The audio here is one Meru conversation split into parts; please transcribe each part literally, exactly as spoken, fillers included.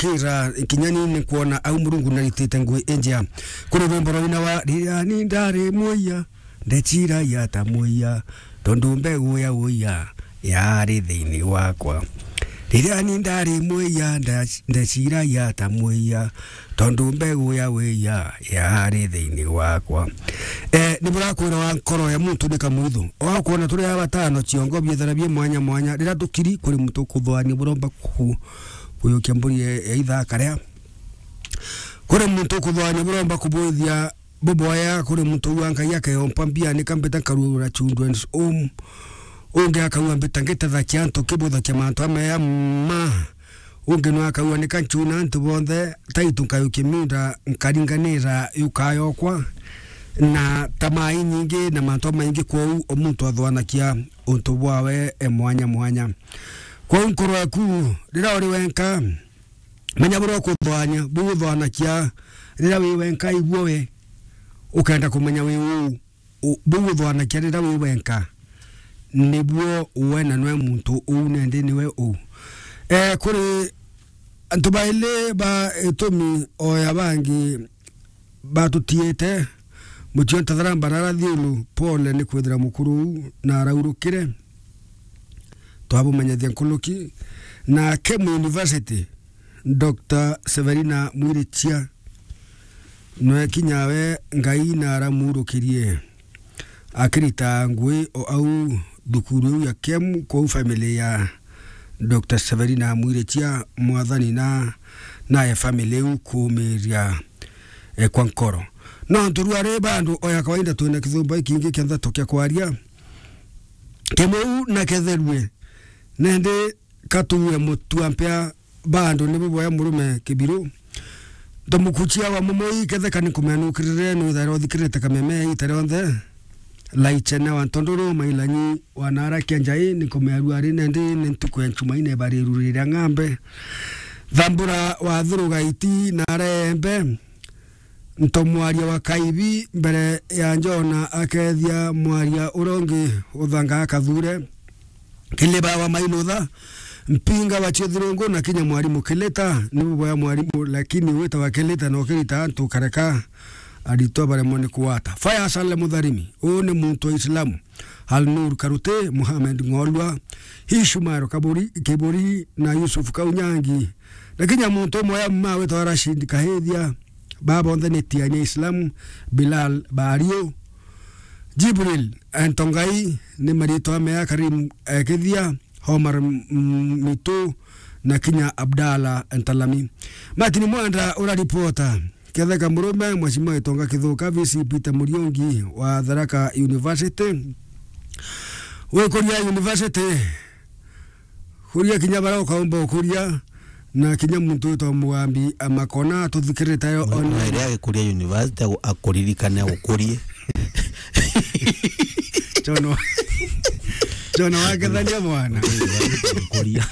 gukira, kinya ni ni kwona au Murungu naritite ngui injia. Kuri rwimbo rwa ina wa, "Riria ni ndari muiya, ndeciragia ta muiya, tondu mbegu ya uiya yari thiini wakwa. Riria ni ndari muiya, nda-, ndeciragia ta muiya, tondu mbegu ya uiya yari thiini wakwa." Eh, ni burakwira wa nkoro ya muntu ni kamwithu. Ogakwona turi aba batano, ciongo biethera bie mwanya mwanya. Riria tukiri, kuri muntu ukuthwania buromba ku-, kuyukia mburi ya, ya itha akaria. Kuri muntu ukuthwania buromba kubwithia buboya, kuri muntu wa Ngai akeyompa mbia, ni kambita nkarura children's home. Ungi akauga, "Mbita ngitethakia antu kibuthakia mantu ameya ma." Ungi no akauga, "Ni kanchuna antu bonthe, taitu nkayukia miunda nkaringanira yuka yokwa." Na tamaa inyingi na mantu amaingi, kwou o muntu athwanakia untu bwawe e mwanya mwanya. Kwou nkoro yaku, riria uri wenka, menya buria ukuthwania, buu uthwanakia riria wi wenka, ibuo we ukenda kumenya wi uu, u-, buu uthwanakia riria wi wenka, nibuo we na nwe muntu uu nendi niwe uu. Eh, kuri antu baili ba itumi o ya bangi batutiite, Mutio Ntatharamba na Rathiulu, pole ni kwithira mukuru uu na araurukire. Twabumenyithia nkuruki. Na Kemu University, Doctor Severina Mwirichia, nwe kinya we Ngai na aramurukirie. Akirita ngui o au thukuru iu ya Kemu, kwou family ya Doctor Severina Mwirichia, mwathani na, naye family iu kuumiria, eh, kwa nkoro. No nturua ri bandu o ya kawaida, twina kithumba ikingi kia nthato kia kwaria. Kimweu na ketherue, nendi katuue mutua mpea bandu ni buboya murume kibiru. Ntomukuchia wa mumoi ketheka ni kumenukirire, nwithagirwa uthikirite kameme ita rionthe. Laichene wa Ntondoro, Mailanyi wa Nara Kianjai, ni kumearua ari nendi ni ntuku ya Nchumaine bariru riria ng'ambe. Thambura wa Thurugaiti na Arembe, ntomwaria wa Kaibi mbere ya Njona akethia mwaria uria ungi uthanga akathure. Kiliba wa Mailutha, Mpinga wa Chithirungu na kinya mwarimu Kilita, ni buboya mwarimu, lakini wita wa Kilita no kirita antu kareka aritwa baremwa ni kuwata. Fire Saleh Mutharimi, uu ni muntu wa Islamu. Alnur Karute, Mohamed Ng'olwa, Ishmael Kaburi, Kiburi na Yusuf Kaunyangi. Na kinya muntu umwe ya mma witwa Rashid Kahithia, baba bonthe ni tiania Islam, Bilal Bario, Jibril Ntongai, ni maritwa mea Karim, eh, Kithia, Omar, mm, Mitu, na kinya Abdallah Ntalami. Martin Mwenda ura ripota. Ketheka Murume, Mheshimiwa Itonga Kithuka, V C Peter Muriungi wa Tharaka University. Wikuria university, kuria kinya baria ukaumba ukuria, na kinya muntu witwa Mugambi Amakona tuthikirite yo. Mwe-, on mwere agikuria university agu-, akuririkane agukurie. Jono. Jono wakethania mwana. Kuria.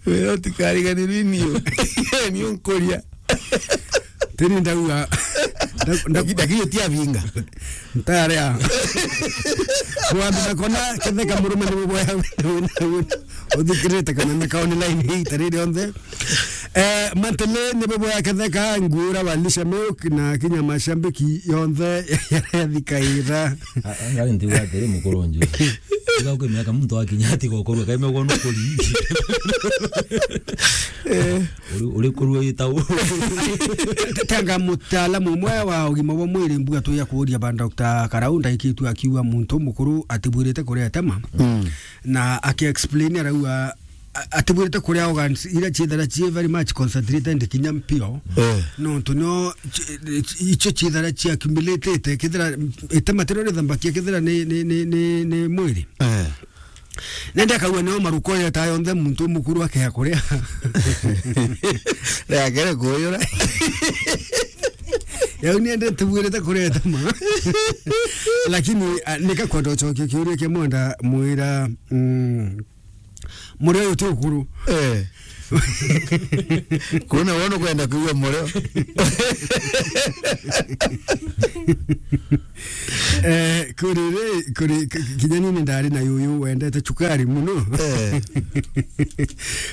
Wewe utikariganirwe ni u-, ni unkuria. Tini ndauga, nda-, nda-, ndakio ti abinga. Ntarea. Mwambi na kona, ketheka murume ni buboya, uthikirite kameme ka online hii, tariri onthe. Eh, Mantele ni buboya ketheka, nguura wa Lisha Milk na kinya mashambiki yonthe yathikaira. A-, a-, ngari ntiuga atiri mukuru nju. Tiga ukimenya ka muntu akinya ati gokorwa kaime gwa nukuri. Eh. Uri, uri kurua ita u-, Tanga mutaalamu umwe wa ugima bwa mwiri mbuga tuya kuuria ba Doctor Karau, ndaikitue akiuga muntu mukuru atibwirite kuria tema. Mm. Na aki explain arauga, a-, atibwirite kuria organs iria ciethera cie very much concentrated kinya mpio. Eh. Nontu no ci-, ci-, icio ciethera cia accumulated, kethira itema tirio rithambakia kethira ni, ni, ni, ni, ni mwiri. Eh. Nende akauga nio maruko yeta yonthe muntu mukuru akea kuria. Riakere kuyura. Yau niende tubwirite kuria itema. Lakini, ah, nika kwenda ucokia kiuria kia Mwenda mwira, mm, Muri uyu ti ukuru. Eh. Kuna wono kwenda kuigua mureo. Eh, kuri ri, kuri, k-, kinya nini ndari na yuyu wendete chukari muno. Eh.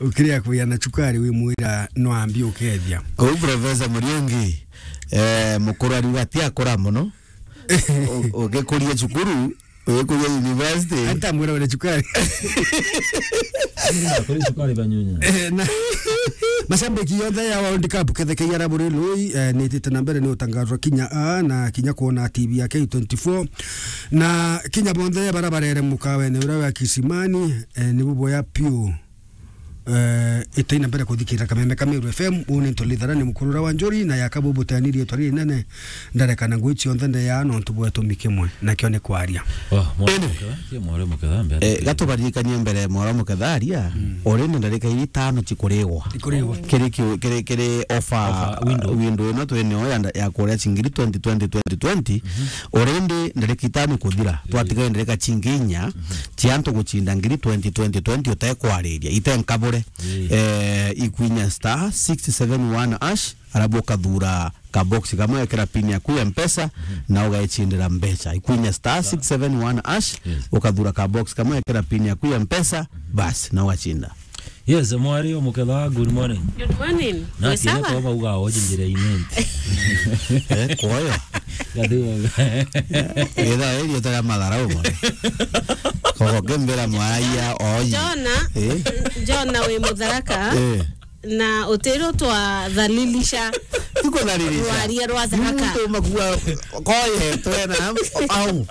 Ukiria kuya na chukari wimwira no ambi ukethia. Kou Professor Muriungi, eh, mukuru ariuga ati akura muno. U-, ugikuria cukuru, ugikuria university. Anta mwira wene chukari. Kuri chukari banyunya. Eh, na mashabiki yonthe ya World Cup kethekei ara buri lui, eh, nitite na mbere ni utangazwa kinya a na kinya kuona T V ya K twenty-four. Na kinya bonthe bara barere mukawene uria wa Kisimani, eh, nibu boya piu. Eh, itei na mbere kuthikira Kameme ka Meru F M, uu ni Ntulithara ni mukurura wa Njuri, na yaka bubuteni riitwa ririnene, ndarekana ngui cionthe ndeya nontu bwetu mikimwe, nakio ni kwaria. Oh, mwana Ene. Muketha, kie mwana muketha, mbere. Eh, gatubaririkanie mbere mwana muketha aria, mm, urindi ndarika iri itano cikurigwa. Ikurigwa. Kiri ki-, kiri, kiri offer, offer window, window ino twinio ya nda-, ya kuria cingiri twenty twenty, twenty twenty, mhm, urindi ndarika itano kuthira. Eh. Twatigaire ndarika cingi inya, mhm, cia antu gucinda ngiri twenty twenty twenty utekwariria, ite nkabure. Ii. Eh, ikwinya star six seven one hash, arabu ukathura ka box kamwe, ekira pin yaku ya Mpesa, mhm, na ugecindira mbeca. Ikwinya star six seven one hash, yes, ukathura ka box kamwe, ekira pin yaku ya Mpesa, mhm, basi, na ugacinda. Yes, mwari o muketha, good morning. Good morning. Na wi sawa? Kwa bauga oji njira imenti. Eh, kuoyo. Gathigo. Ithaa iri utara matharau mono. Kogo kimbira mwaia oji. Jona, eh? Jona wi Mutharaka. Eh. Na utiro twathalilisha. Tikuthalilisha. Rwaria rwa Tharaka. Ni muntu makua koye twena au.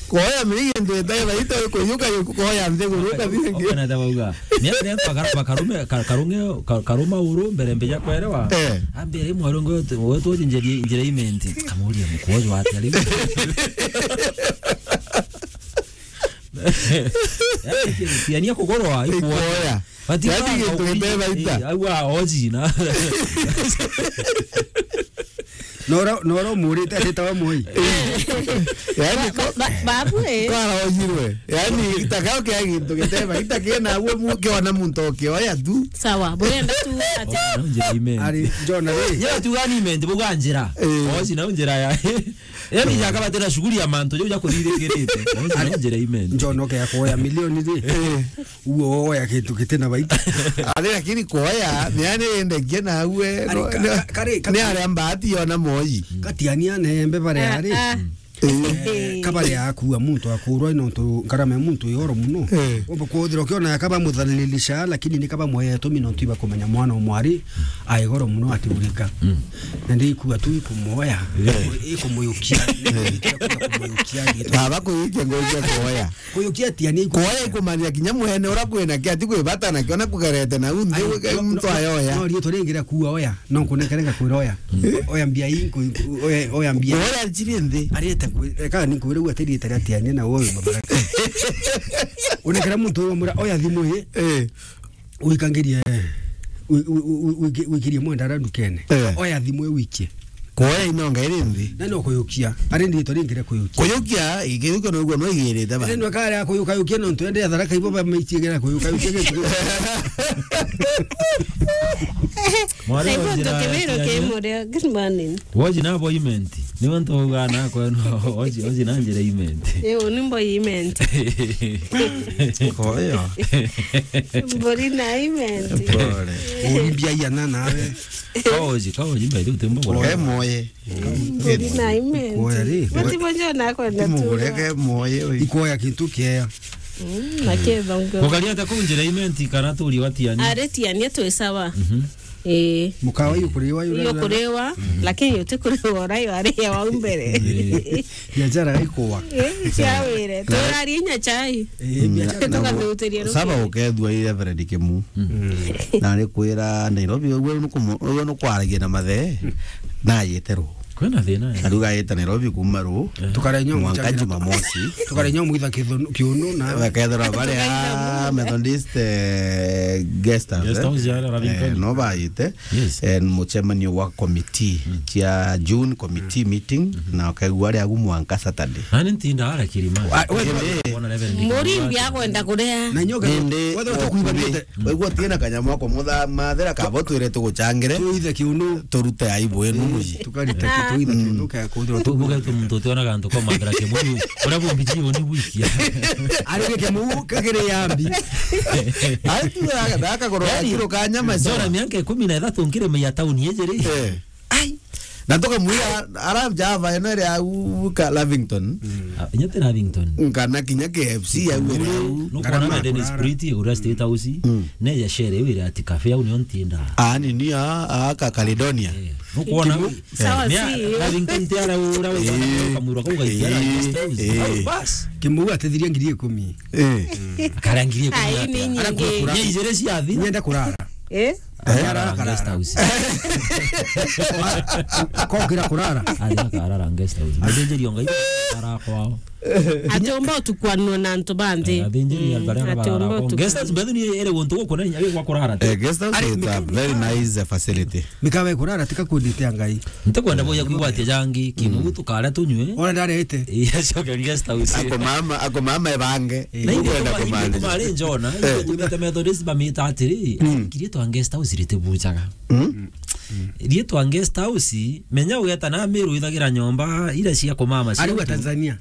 Koya miri gintu itaiba ito kuyuka yuku koya nthiguru kathire ngi. Okana ta bauga. Ni ni bakar-, bakarume, ka-, karunge, ka-, karuma uru mbere mbija kwerewa. Eh. Ambire mwaru ngo wetu njeri, njira imenti. Kamuria mukojo atia riu. Yaani, tiania kugorwa, ikuoya. Ikuoya. Bati yaani, gintu giteba ita. Eh, au a oji na. Nora, nora umurite atitawa Moi. Yaani, ba-, ba-, babu, eh. Kwara ojirwe. Yaani, itakao kia gintu giteba, ita kina uwe mu-, kiona muntu okioya tu. Sawa, burenda tu ati. Ari, Jona, ri. Yeye tu gani mente buganjira. Eh. Oji na unjira ya. Yaani, jaka batera shughuli ya mantu, jo ja kuthirikirite. Oji na unjira imeni. Jona, okay, ya kuoya milioni, ri. Eh. Uo oya kintu gitina baita. Ari lakini kuoya, ni ani endegie na uwe, ari no, ka-, no, ka-, kari, ni kari, aria mbati yona moji. Katiania nembe bare ari. Ah, ah. Eh. Eh, kabare akua muntu akurwa nontu ngarama ya muntu yoro muno. Eh. Omba kuthira ukiona kaba muthalilisha, lakini ni kaba moya tumi nontu iba kumenya mwana omwari aigoro muno atiurika. Mm. Na ndi ikua tu ikumuoya, eh, ikumuyukia, eh, ikumuyukia. Baba kuikia ngoja kuoya. Kuyukia ati ani kuoya ikumanya kinya mwene ura kwina kia ti kwibata na kiona kugerete na unthi. Ai, no, muntu no, ayoya. No, rietwa ringi ria kuoya, no nkunekere ngakwira oya. Mm. Oya mbia ii, nku-, oya, oya mbia. Oya njiri nthi. Ariete kwi-, eka ni nkwire u atiriete ria ati ani na uyu mabara. Unekera muntu uyu mura oya thimu ii. Eh. Wikangirie, wi-, wi-, wi-, wiki-, wikirie mwenda ara ndukene. Eh. Oya thimu iwikie. Kuoya inonga iri nthi. Na no kuyukia. Ari ndi ritwa ringi ria kuyukia. Kuyukia, ikiyukia no guo no igirite ba. Ene no kare kuyuka yukia no ntu ende Tharaka ibo ba maitie gera kuyuka yukia gitu. Mwana. Saibo wa njira ya Kibiro Kianya. Kimuria. Good morning. Woji na appointment. Ni wantu uga na kwa no, oji, oji na njira imenti. Yo, ni mbo imenti. Koyo. Mburi na imenti. Pole. Umbia yana nawe. Kaoji, kaoji, mbe tu tembo. Koyo moye. Mburi na imenti. Koyo ri. Mati mojo na kwenda tu. Mugureke moye. Ikoya kintu kiea. Mm, na ketho ngo. Mukaria ta kunjira imenti kana turi watiania. Aretiania twi sawa. Mhm. Ii. Mukawa iyo kuriwa iyo. Iyo kuriwa, mhm, lakini uti kuriwa urayo ari ya wa mbere. Ii. Biashara ikuwa. Ii, cia wire. Turaria inya chai. Ii, biashara. Tukathutiria ruki. Saba ukethua i Reverend Kimu. Mm. Na ari kwira Nairobi, uguo nukumu-, uguo nukwaragia na mathe, na yete ru. Kwina thina, eh. Ariuga aita Nairobi kuma ru. Eh. Tukarenya mwanka Jumamosi. Tukarenya mwitha kithunu, kiunu na. Bakethirwa bari a Methodist, eh, guest house, guest house ya Ravington. Eh, no baite. Yes. Eh, mucemanio wa committee, mm, cia June committee, mm, meeting, mm-hmm, na ukaigua ari agu mwanka Saturday. Nani ntinda ara kirima. Ah, we, we, kuona level ni Murimbi akwenda kuria. Na nyoka, indi wethe ukuigua, tukuibanite. Waigua utina kanyamu ako mutha mathira kabo twire tuguchangire. Tuithe kiunu. Turute aibu enu muji. Tukarite ki-, tuithe kiunu ka kuthirwa tu. Tubuge tu muntu utiona gantu kwa mathira kimu. Ura bumbi ji uni wikia. Ari ke kimu kagire yambi. Ai tu da, da kagoro kiro kanyama. Zora miaka ikumi na ithatu nkire meya town yejere. Eh. Ai. Na tukamwira, ara Java eno iri au ka Lavington. Mm. Ah, inya ti Lavington. Nkana kinya K F C au iri au. Nukwona na Dennis Priti, uria State House, mm, ne ya shere wira ati cafe au nio ntinda. Ah, ni, ni a, a ka Caledonia. Eh, nukwona. Sawa, si. Lavington ti ara ura, eh, kamwira kau gaikia ara, eh, guest house. Eh. Au bas. Kimu atithiria ngiri ikumi. Eh. Akaria ngiri ikumi. Ai, ni nyingi. Ara kura. Nya ijere cia thira. Nyenda kurara. Eh? Akarara guest house. Akokira kurara. Ari akarara guest house. Muthinjiri o Ngai ara kwao. Atiumba utukwanwa na antu banthi. Eh, athinjiri, mm, antu aria atiumba barara kwao. Guest house, utukwanwa. Bethu ni ere guntu gukuna inya gwa kurara. Eh, guest house is a very nice facility. Mikawe kurara tika kundi tia Ngai. Ntikwenda boya kwigwa ati jangi, kimu tukaria tunywe. Ona ndarete. Yes, okay, guest house. Ako mama, ako mama ebange. Eh. Na indi ukwenda kuma-, kumaanisha. Kuma ari njona, eh, tumete Methodist bamita atiri, mm, riitwa guest house ritibuchaga. Mm. Riitwa guest house, menya ugeta na Meru ithagira nyomba ira cia kumama cia ariwa antu. Tanzania.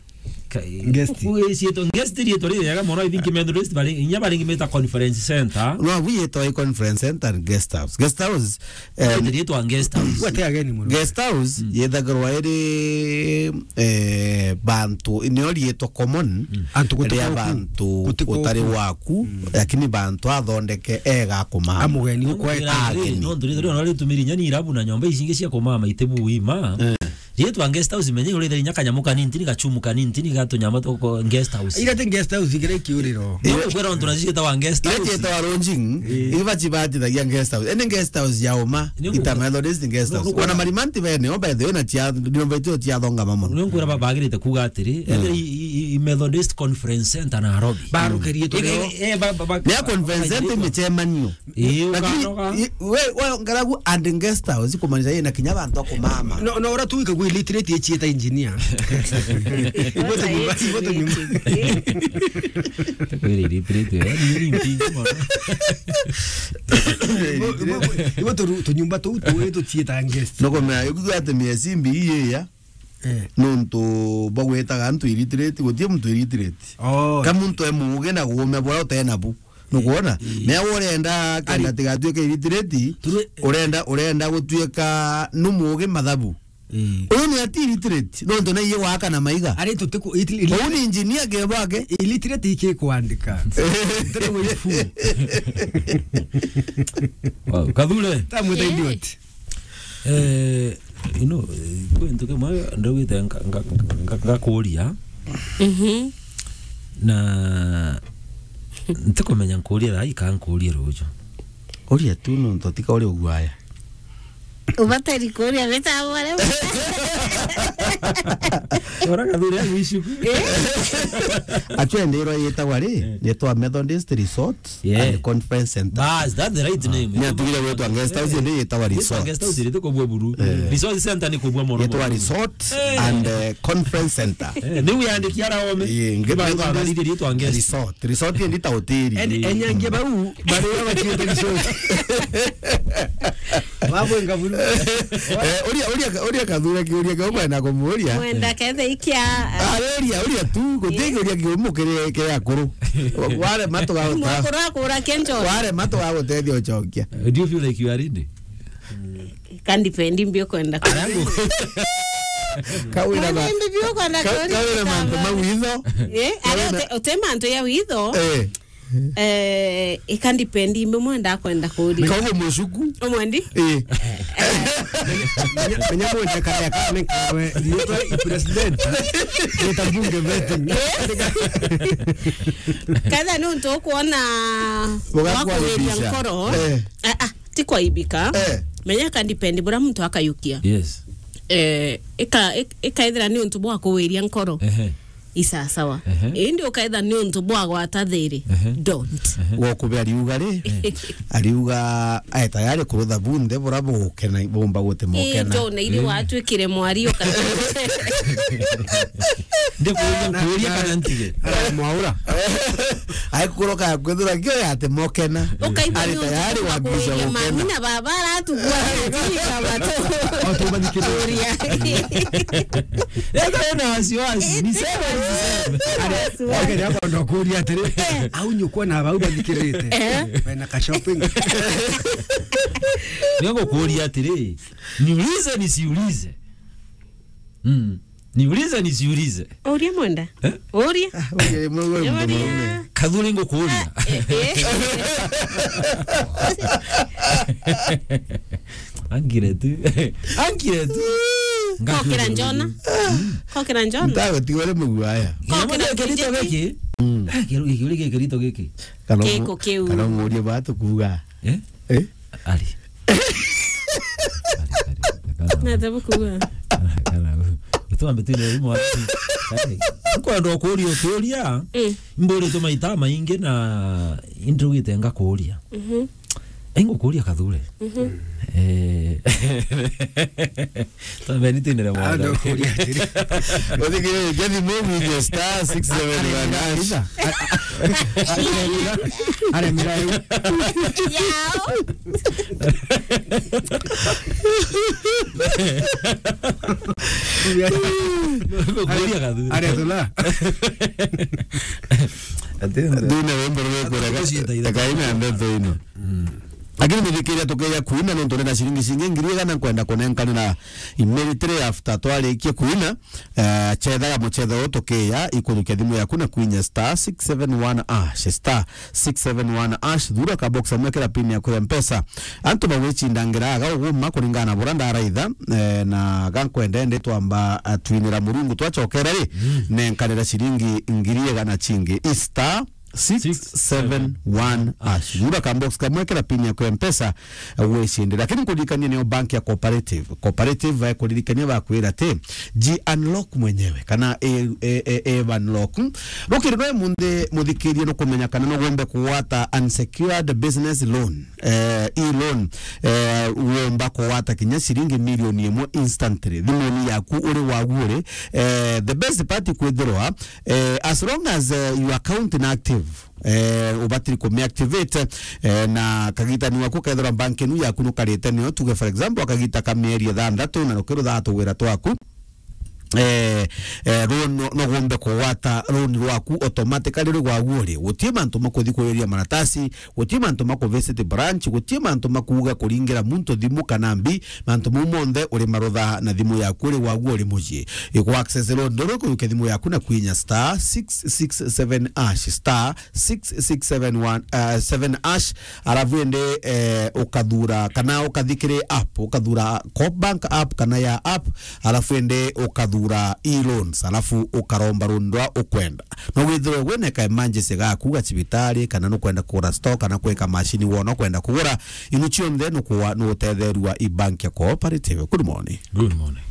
Ka-, guest. Ku-, ciitwa guest riitwa ririega mono, I think Methodist bari, inya baringi meta conference center. No, abu yetwa i conference center and guest house. Guest house, em, riitwa guest house. Gwete ageni muno. Guest house, mm, yethagirwa iri, eh, bantu, nio riitwa common, mm, antu ria gutikoku, bantu gutikoku, utari waku, mm, lakini bantu athondeke ega kumama. Amugeni ukwe ageni. Nontu riitwa rio no ritumiri inya ni irabu na nyomba ici ingi cia kumama itibu ima. Eh. Riitwa guest house, menya urithe inya kanyamu kanini, tini gachumu kanini, tini gatunyama tuko guest house. Ira ti guest house, igira ikiuriro. Ni ukwira untu nacio ciitagwa guest house. Ira ciitagwa lodging, eh, iba cibatithagia guest house. Ene guest house ya uma, ni ita Methodist guest house. Wana Marimanti bene, o by the way, na cia, nyomba icio ciathongama mono. Ni ukwira ba-, bagirite kuga atiri, eh, i, i, i Methodist Conference Center Nairobi. Barukirie tu. Eh, eh, ba-, ba-, ba-, ni a conference center micemanio. Ii, lakini, ukanoga. I, we, we, ngaragu and guest house, kumaanisha yina kinya bantu a kumama. No, no, ura tu ikagwa illiterate ichieta engineer. Ibote nyumba, ibote nyumba. Kweli illiterate, eh, ni, ni mpingi mono. Ibo, ibo, ibo tu, tunyumba tu, tu, tu chieta guest. No kumea, yukuga ati miezi mbi iye ya. Eh. Nontu bagwetaga antu illiterate, gutie muntu illiterate. Oh. Ka muntu e muuge na guume bura utena bu. Nukwona? Eh. Mea urenda kenda ari, tigatuike illiterate, turi- urenda, urenda gutuika nu muuge mathabu. Eh. Uyu ni ati illiterate, nontu na iye waka na maiga. Ari tutiku-, iti-, ili- Uyu ni engineer ke bwake. Illiterate iki kwandika. Tena wifu. Wow, Kathure. Tamwita idiot. Eh, you know, eh, kwi ntu kimwe ndaugite nga-, nga-, nga-, ngakuria. Mhm. Na ntikumenya nkuria thaa ii kana nkurie ruju. Uria tu nontu tika uri uguaya. Ubatari kuria bita bore. Ora Kathure ya wishuku. Eh? Atwendero yetagwa ri, eh, yetwa Methodist Resort. Yeah. And Conference Center. Bas, that's the right name. Ni atugire gwetwa guest house, indi yetagwa resort. Guest house iri kubua buru. Eh. Resort center ni kubua mono. Yetwa resort, eh, and, eh, conference center. Eh, ni wiyandiki ara ome. Ii, nge- ba- ba- ba- ritwa guest. Resort. Resort indi ta hoteli. En-, enyangia bau, bari batiete resort. Babwenga buru. Eh, uria, uria, uria Kathure kiuria kiu kwenda kumuria. Mwenda kethe ikia. Ah, uria, uria tu, guti kiuria kiumu kiri, kiri akuru. Warema tugaguta-, mukuru akura kenjo. Warema tugagutethia ucokia. Do you feel like you are ready? Can depend mbi ukwenda. Arangu. Kawira ba-, mbi ukwenda ka-, kuria kawira mantu ma witho. Eh, ari kawira ute-, ute mantu ya witho. Eh. Eh, ika depend imbi mwenda kwenda kuria. Kaugu mucuku. Umwendi? Eh. Menya, menya mwenda kaya kame kawe, riitwa i president. Riitwa bunge vetting. Ketha ni untu ukwona wakuiria nkoro. Eh. Ah, ah, ti kwaibika. Eh. Menya ka depend bura muntu akayukia. Yes. eh, ika-, ik-, ikaethira ni untu bwa kuwiria nkoro. Ehe. Isasawa. Ehe. Indi ukaetha ni untu bwa gwata thiri. Ehe. Don't. Ehe. Gokube ariuga ri, ariuga ae tayari kurutha bunthe bura bukena, bumba guti mukena. Ii, John, iri watwikire mwari uka- Ndikuuria nkuuria kana ntige. Mwaura. Aikuroka kwithira kio yate mokena. Ukaigua ari ni tayari untu wa kuiria gukena. Mami na baba aratugua ati kama tu. Watu wathikiriria. Kuria. Eka wina wasiwasi. Niseme nisiseme. Wasiwasi. Ari, wake ni akwenda kuuria atiri, eh, au nyukwa na bau bathikirite. Eh. Wena ka shopping. Nigukuuria atiri, niulize nisiulize. Mm. Niulize nisiulize. Uria mwenda? Eh? Uria. Ah, uria, mwe, mwe, mwe, mwe. Kathuri ngukuuria. Eh, eh. Angire tu. Angire tu. Kokira njona. Kokira njona. Ntawe tigore muguaya. Kokira kirito giki. Mm. Eh, kiru-, kiru-, kirito giki. Kana kiu. Kana ngurie batu kuuga. Eh? Eh? Ari. Ari, ari, ari, kana. Nate bukuga. Kana, kana. Utwambe tu ni mwa. Kwenda kuuria ukiuria. Mm. Mburitwe maita maingi na indugite ngakuuria. Mhm. Ingukuuria Kathure. Mhm. Eh. Twambe ni twinire mwana. Ando kuuria atiri. Uthikire, Jeffy Mobi, star six seven one hash. Aremera, aremera. Yao. Kuria Kathure. Are tula. Ati ndune wimbo rwe kura. Ati ka-, kaina ndeto ino. Mm. Lakini muthikiria tukeja kuina nontu ndina ciringi cingi ngiri igana nkwenda kunenkanira immediately after twarikia kuina. Eh, chethaga muchetho uyu tukiya, ikuthukia thimu yaku na kwinya star six seven one hash, star six seven one hash, thura ka box amwe kira pin yaku ya Mpesa. Antu bagwicindangira aga uguma kuringana na bura ndaraitha, eh, na gankwenda ndi twamba, eh, twinira Murungu twachokera ri, mm, nenkanira ciringi ngiri igana cingi, star six seven one hash. Thura ka box kamwe kira pin yaku ya Mpesa, eh, gwicindira. Lakini nkuririkania niyo bank ya Cooperative. Cooperative, eh, kuririkania bakwira ati, ji unlock mwenyewe, kana e, e, e, e unlock. Rukiri rwe munthi muthikirie nukumenya kana no gombe kugwata unsecured business loan, eh, e-loan, eh, womba kugwata kinya ciringi milioni imwe instantly thimuni yaku uri wagu uri. Eh, the best part kwithirwa, eh, as long as, eh, your account ni active, eh, ubatiri kumiactivate, eh, na kagitani waku kethirwa bank inu yaku nukarite nio, tuge for example, akagita ka mieri ithanthatu na nukiruthaa tugwira twaku, eh, eh, loan no, no gombe kugwata loan rwaku automatically ri gwagu uri. Gutie mantu makuthi kuiria maratasi, gutie mantu maku visit branch, gutie mantu makuuga kuringira muntu thimu kana mbi, mantu mau monthe uri marutha na thimu yaku uri gwagu uri mucii. Iku access loan ndoro kurukia thimu yaku na kwinya star six six seven hash, star six six seven one, uh, seven hash, alafu ende, eh, ukathura kana ukathikiri app, ukathura Coop Bank app kana ya app, alafu ende ukathura e-loans, alafu ukaromba loan rwa ukwenda. No withirwe wina ka emergency gaku ga cibitari, kana nukwenda kugura store, kana kwika machine wona ukwenda kugura, inu cionthe nukuwa, nugutetherua i bank ya Cooperative. Good morning. Good morning.